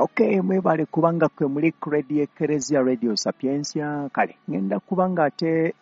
Okay, mwebale kubanga kwe muli ku Radio Ekereziya, Radio Sapientia. Kale ngenda kubanga ate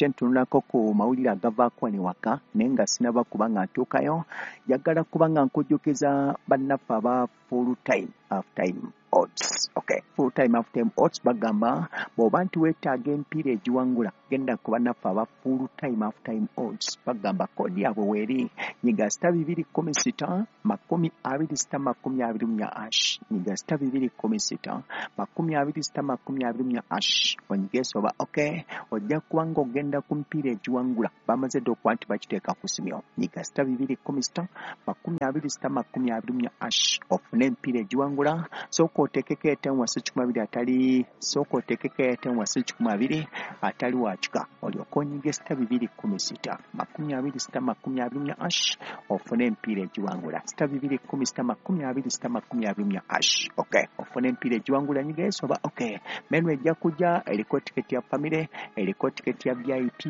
ntunulako ku mawulire agavaako wano waka, naye nga sinaba kubanga ntuukayo, njagala kubanga nkujjukiza bannaffe aba full time half time odds. Okay, full time half time odds bagamba bw'oba nti weetaaga empiira egiwangula, genda ku bannaffe aba full time half time odds. Bagamba code yaabwe weeri: nyiga *216 26 24 hash. Nyiga *216 26 24 hash, onyige soba. Okay, ojja kuba nga ogenda ku mpiira egiwangula. Bamaze dda okuba nti bakiteeka ku simyo. Nyiga *216 26 24 hash, ofune empiira egiwangula. Sooka oteekeko airtime wasi 20 atali, sooka oteekeko airtime wasi 20 atali wakika, olyoke onyige *216 26 24 hash, ofune empiira egiwangula. *216 26 24 hash. Okay, ofune empiira egiwangula, nyiga esoba. Okay, menu ejja kujja eriko tiketi ya family, eriko tiketi ya VIP.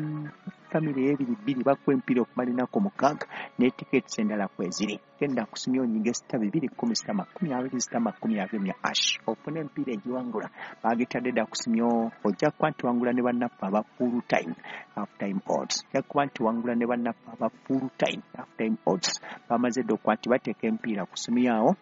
Family ey'ebiri bbiri bakuwa empiira okumala ennaku 6, ne tickets endala kweziri. Genda kusimya, onyige *216 26 24 hash, ofune empiira egiwangula. Bagitadde dda kusimyo. Ojja kuba nti wangula ne bannaffe aba full time half time odds. Ojja kuba nti wangula ne bannaffe aba full time half time odds. Bamaze dda okuba nti bateeka empiira ku simu yaawo,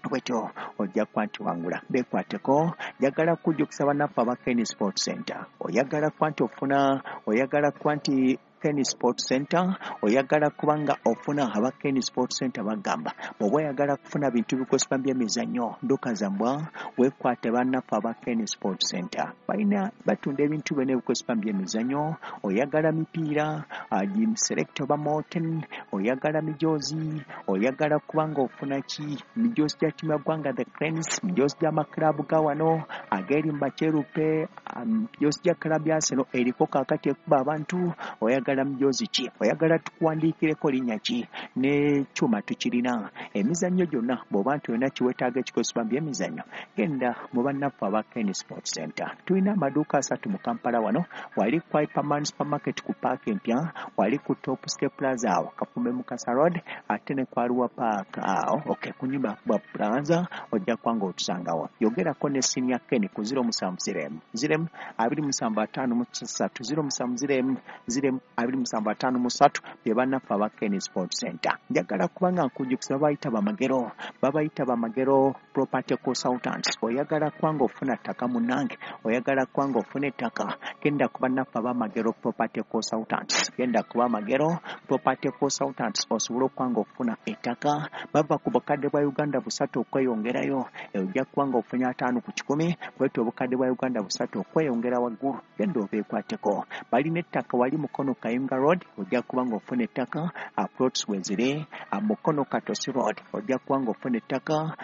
bwetyo ojja kuba nti wangula. Beekwateko. Njagala kujjukiza bannaffe aba Ken Sport Center. Oyagala kuba nti ofuna, oyagala kuba nti Ken Sport Center, oyagala kuba nga ofuna, aba Ken Sport Center bagamba bw'oba oyagala kufuna bintu bikozesebwa by'emizannyo, nduka zambwa, weekwate bannaffe aba Ken Sport Center. Balina, batunda ebintu byonna ebikozesebwa by'emizannyo. Oyagala mipiira, gym select oba Molten, oyagala mijoozi, oyagala kuba nga ofuna ki? Mijoozi gya ttiimu ya ggwanga the Cranes, mijoozi gy'amakiraabu ga wano ag'eri mu bakyerupe, mijoozi gya club ya Arsenal eriko kaakati ekuba abantu. Oyagala mijoozi ki? Oyagala tukuwandiikireko linnya ki? N'ekyuma tukirina. Emizannyo gyonna, bw'oba nti olina kiweetaaga ekikozesebwa mu byemizannyo, genda mu bannaffe aba Ken Sport Center. Tulina amaduuka asatu mu Kampala wano: wali ku Hyperman Supermarket ku paaka empya, wali ku Top Step Plaza awo Kafumbe Mukasa Road, ate ne Kwaluwa Park awo, okay, ku nyumba ya Plaza, ojja kuba nga otusangawo. Yogerako ne Senior Ken ku 070 0 27 53, 070 0 27 53. Bye bannaffe aba Ken Sport Center. Njagala kubanga nkujjukiza, babayita bamagero, babayita bamagero Property Consultants. Oyagala kubanga ofuna ttaka, munnange, oyagala kubanga ofuna ettaka, genda ku bannaffe abamagero Property Consultants. Genda ku bamagero Property Consultants osobole okuba nga ofuna ettaka. Bava ku bukadde bwa Uganda 300 okweyongerayo. Ojja kuba nga ofunye 50 ku 100, bwetyo obukadde bwa Uganda 300 okweyongera waggulu. Genda obeekwateko. Balina ettaka wali Mukono Kayunga Road, ojja kuba nga ofuna ettaka. Plots wezire Mukono Katosi Road, ojja kuba nga ofuna ettaka.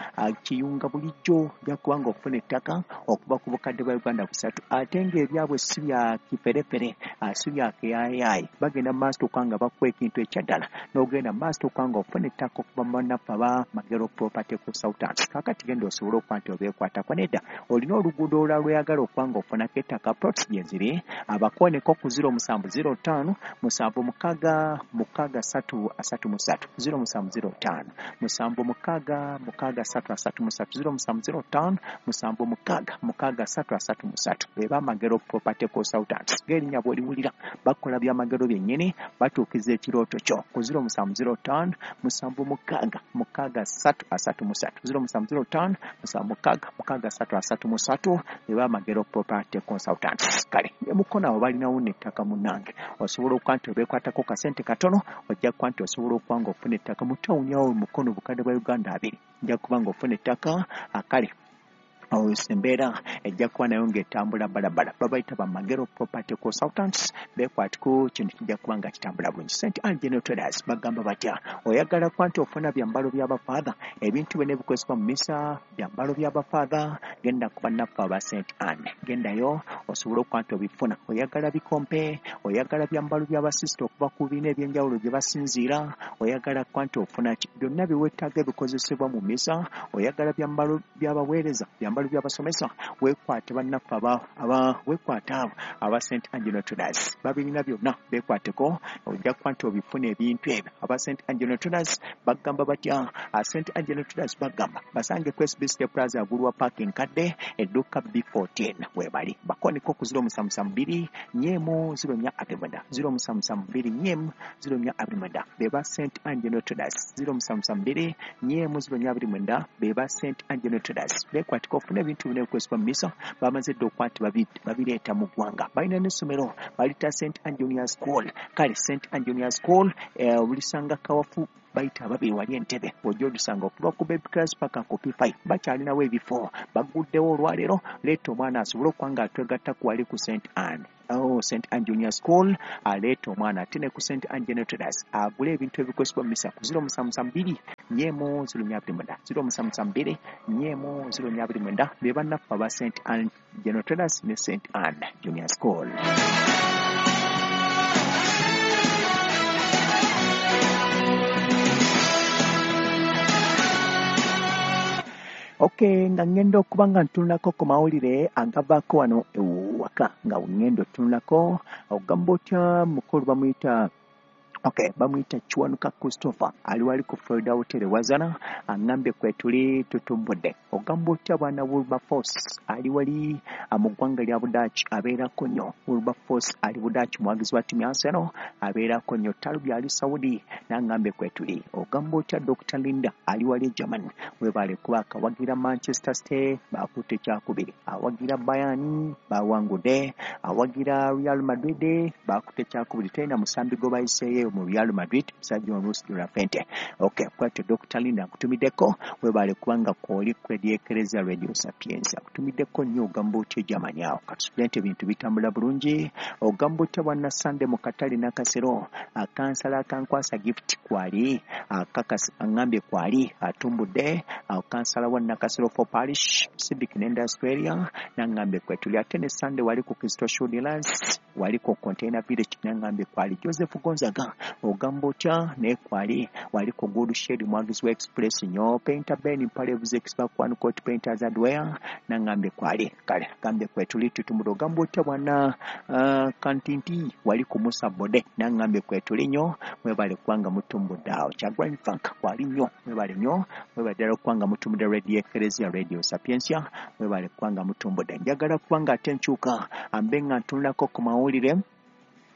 Kiyunga bulijjo ojja kuba nga ofuna ettaka okuva ku bukadde bwa Uganda 300, ate ng'ebyabwe si bya kiferefere, si bya keyayaayi. Bagenda mu maaso okuba nga bakuwa ekintu ekyaddala, n'ogenda mu maaso okuba nga ofuna ettaka okuva mu bannaffe aba Magero Property Consultants. Kaakati genda osobole okuba nti obeekwatako. Nedda, olina oluguudo olulala lweyagala okuba nga ofunako ettaka, plots gye ziri. Abakoneko ku 0705 76 63 33, 0705 76 63 33, 0705 76 63 33. Be bamagero Property Consultants. Ng'erinnya bw'oliwulira, bakola byamagero byennyini, batuukiza ekirooto kyo ku 0705 76 63 33, 0705 76 63 33. Be bamagero Property Consultants. Kale ne Mukono abo balinawo n'ettaka, munnange, osobola okuba nti obeekwatako kasente katono, ojja kuba nti osobola okuba nga ofuna ettaka mu tawuni awo Mukono, bukadde bwa Uganda 20, ojja kuba nga ofuna ettaka. Akale embeera ejja kuba nayo ng'etambula balabala. Babayita bamagero Property Consultants. Beekwatiko, kintu kijja kuba nga kitambula bulungi. St Ann General Traders bagamba batya? Oyagala kuba nti ofuna byambalo by'abafaatha, ebintu byonna ebikozesebwa mu misa, byambalo by'abafaatha, genda ku bannaffe aba St Ann. Gendayo osobole okuba nti obifuna. Oyagala bikompe, oyagala byambalo by'abasisita okuva ku bibiina ebyenjawulo gye basinziira, oyagala kuba nti ofuna ki? Byonna bye weetaaga ebikozesebwa mu misa. Oyagala byambalo by'abaweereza, byambalo byambalo by'abasomesa, weekwate bannaffe aba weekwate abo aba St Angelo Traders, babirina byonna, beekwateko ojja kuba nti obifuna ebintu ebyo. Aba St Angelo Traders bagamba batya? St Angelo Traders bagamba basange ku SBC Plaza agulwa parking kadde edduka B14 webali bakoneko ku 0772 4 0429 0772 4 0429 beba St Angelo Traders 0772 4 0429 beba St Angelo Traders. Bekwatiko ofuna ebintu bino ebikozesebwa mu misa, bamaze dda okuba nti babireeta mu ggwanga. Balina n'essomero balita St Angelina School. Kale St Angelina School olisanga kawafu bayita ababiri wali Entebbe, ojja olisanga okuva ku baby class paka ku P5, bakyalinawo ebifo, baguddewo olwaleero. Leeta omwana asobole okuba nga atwegatta ku wali ku St Anne, St Anne Junior School, aleeta omwana ate ne ku St Angelo Traders agule ebintu ebikozesebwa mu misa ku 0772 4 0429 0772 4 0429 be bannaffe aba St Angelo Traders ne St Anne Junior School. Okay, nga ngenda okuba nga ntunulako ku mawulire agavaako wano ewaka, nga ngenda otunulako ogamba otya mukulu bamuyita, okay, bamuyita Kiwanuka Christopher ali wali ku Florida Hotel Wazana, aŋŋambye kwetuli tutumbudde. Ogamba otya bwana Wilberforce ali wali mu ggwanga lya Budaaki, abeerako nnyo. Wilberforce ali Budaaki, muwagizi wa ttiimu ya Arsenal, abeerako nnyo. Talubi ali Saudi, n'aŋŋambye kwetuli. Ogamba otya Dr Linda ali wali e Germany, webaale kuba akawagira Manchester City bakutte kyakubiri, awagira Bayern bawangudde, awagira Real Madrid bakutte kyakubiri, terina musambi gwe bayiseeyo mu Real Madrid, musajja wa Luis de la Fuente. Okay, kwate Dr Linda nkutumiddeko, webaale kubanga kwoli ku Radio Eklezia Radio Sapienza, nkutumiddeko nnyo. Ogamba otya Germany awo, katusubire nti ebintu bitambula bulungi. Ogamba otya bwana Sunday mu katale Nakasero, akansala akankwasa gift kwali akakasi aŋŋambye kwali atumbudde, kansala wa Nakasero for Parish Civic ne Australia naŋŋambye kwetuli. Ate ne Sunday wali ku Kristo Shoe Dealers wali ku Container Village naŋŋambye kwali. Joseph Gonzaga ogamba otya naye kwali wali ku Good Shade, mwagizi wa Express nnyo. Painter Ben Mpalebuze Expert One Coat Painters Hardware naŋŋambye kwali. Kale gambye kwetuli tutumbudde. Ogamba otya bwana Kantinti wali ku Musa Bode naŋŋambye kwetuli nnyo, mwebale kubanga mutumbudde awo. Kyagwanyi Frank kwali nnyo, mwebale nnyo, mwebale ddala okubanga mutumbudde Radio Eklezia Radio Sapientia, mwebale kubanga mutumbudde. Njagala kubanga ate nkyuka ambe nga ntunulako ku mawulire.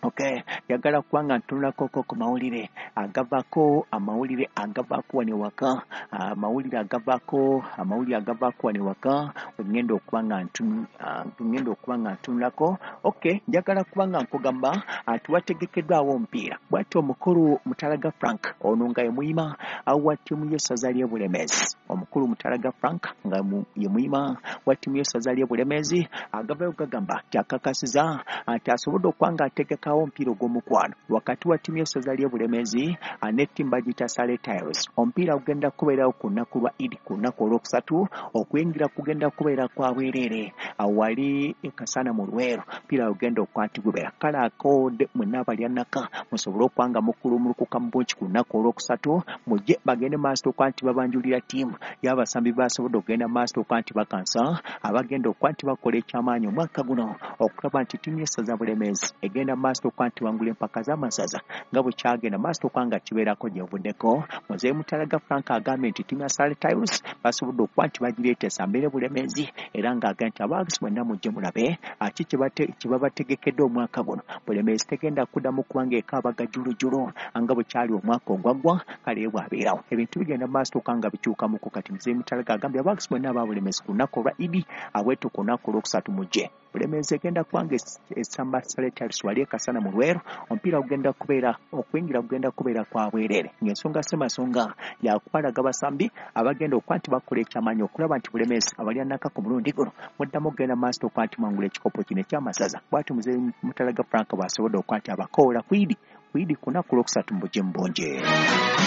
Okay, njagala kubanga ntunulako ku mawulire agavaako, amawulire agavaako wano ewaka, amawulire agavaako, amawulire agavaako wano ewaka, ngenda okuba nga ntunulako. Okay, njagala kubanga nkugamba tuwategekeddwawo omupiira. Bw'atyo omukulu Mutalaga Frank ono nga ye muyima wa ttiimu y'essaza ly'e Bulemeezi, omukulu Mutalaga Frank nga ye muyima wa ttiimu y'essaza ly'e Bulemeezi agavayo gagamba nti akakasiza nti asobodde okuba nga ategekawo omupiira ogw'omukwano wakati wa ttiimu y'essaza ly'e Bulemeezi ne ttiimu bagiyita Sale Tiles. Omupiira gugenda kubeerawo ku lunaku lwa Idi, ku lunaku olwokusatu, okuyingira kugenda kubeera kwa bwereere awali e Kasana mu Luweero. Omupiira gugenda okuba nti gubeera kale akode mwenna abalya nnaka musobole okuba nga mukulumulukuka mu bungi ku lunaku olwokusatu, mujje bagende maaso okuba nti babanjulira ttiimu y'abasambi basobodde okugenda maaso okuba nti bakansa abagenda okuba nti bakola ekyamaanyi omwaka guno okulaba nti ttiimu y'essaza Bulemeezi egenda maaso okuba nti wangula empaka z'amasaza nga bwe kyagenda maaso okuba nga kibeerako gye buvuddeko. Muzeeyi Mutalaga Frank agambye nti ttiimu ya Sale Tiles basobodde okuba nti bagireeta esambire Bulemeezi, era ng'agambye nti abaagisi mwenna mujje mulabe ki kye babategekedde omwaka guno. Bulemeezi tegenda kuddamu kubanga ekaabaga jjulujjulu nga bwe kyali omwaka ogwaggwa. Kale bw'abeerawo ebintu bigenda maaso okuba nga bikyukamuko. Kati Muzeeyi Mutalaga agambye abaagisi mwenna aba Bulemeezi ku lunaku olwa Idi abwetu ku lunaku olwokusatu mujje. Bulemeezi egenda kubanga esamba Sale Tiles wali e Kasana mu Luweero. Omupiira gugenda kubeera, okuyingira kugenda kubeera kwa bwereere, ng'ensonga Ssemasonga yakubalaga basambi abagenda okuba nti bakola ekyamaanyi okulaba nti Bulemeezi abalya nnaka ku mulundi guno muddamu okugenda maaso okuba nti mwangula ekikopo kino eky'amasaza. Bw'atyo Muzeeyi Mutalaga Frank bw'asobodde okuba nti abakoola ku Idi ku lunaku olwokusatu mu bujje mu bungi.